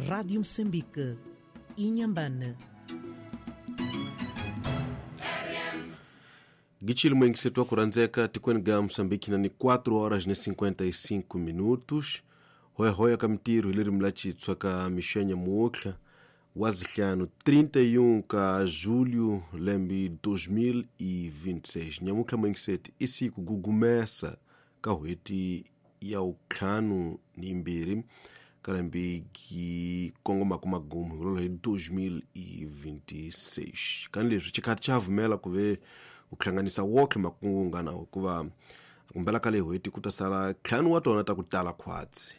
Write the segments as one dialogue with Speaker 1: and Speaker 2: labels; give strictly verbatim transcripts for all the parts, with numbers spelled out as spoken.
Speaker 1: Rádio Moçambique, Inhambane.
Speaker 2: Gichili mwengisetu akuranzeka tikweni ga Moçambique na ni quatro horas ne cinquenta e cinco minutos. Hoya hoya ka mitiru hiliri mlachitswa ka mixenya muotlha wa zihlanu trinta e um ka julho lembe dois mil e vinte e seis. Nyamutlha mwengiseti isiku gugumesa ka hweti ya utlhanu ni mbirhi ka lembe gi kongomaka magumu hi hi dois mil e vinte e seis. Kani leswi xikhathi xa vumela ku ve u hlanganisa wotlhe makungu nga na hikuva kumbela ka le hweti ku ta sala ntlhanu wa tona ta ku tala khwatsi.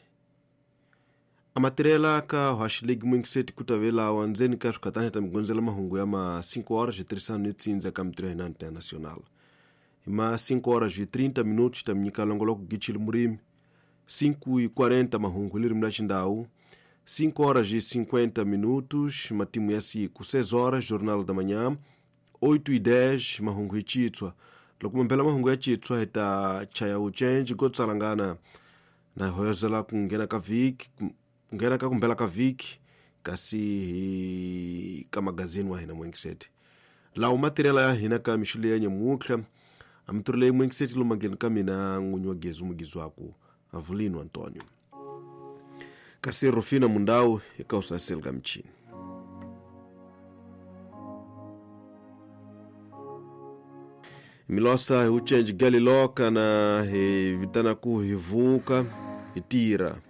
Speaker 2: Amatirela ka haxilegi mwingiseti ku ta ve lawa ndzeni ka swikhatani ta migondzela mahungu ya ma cinco horas e tirhisano ni tsindza ka mitirho ya hina internacional. Hi ma cinco horas e trinta minutos ta mi nyika longoloko gichili murimi, cinco e quarenta mahungu hi ririmi ra xindhawu, cinco horas e cinquenta minutos matimu ya siku, seis horas jornal da manhã, oito e dez mahungu hi chitswa. Loko mambela mahungu ya chitswa hi ta chaya uchenji go tsalangana na hoyozela ku nghena ka vhiki, ku nghena ka kumbela ka vhiki kasi hi ka magazini wa hina mwengiseti. Lawo matirela ya hina ka mixo leyi ya nyamutlha a mitirho leyi mwengiseti lomangeni ka mina n'winyi wa gezi mugizwaku Avelino Antonio. Kasi Rufina Mundau eka usaseli ka michini. Milosa hi uchenji galiloka na hi vitana ku hi vuka hi tira.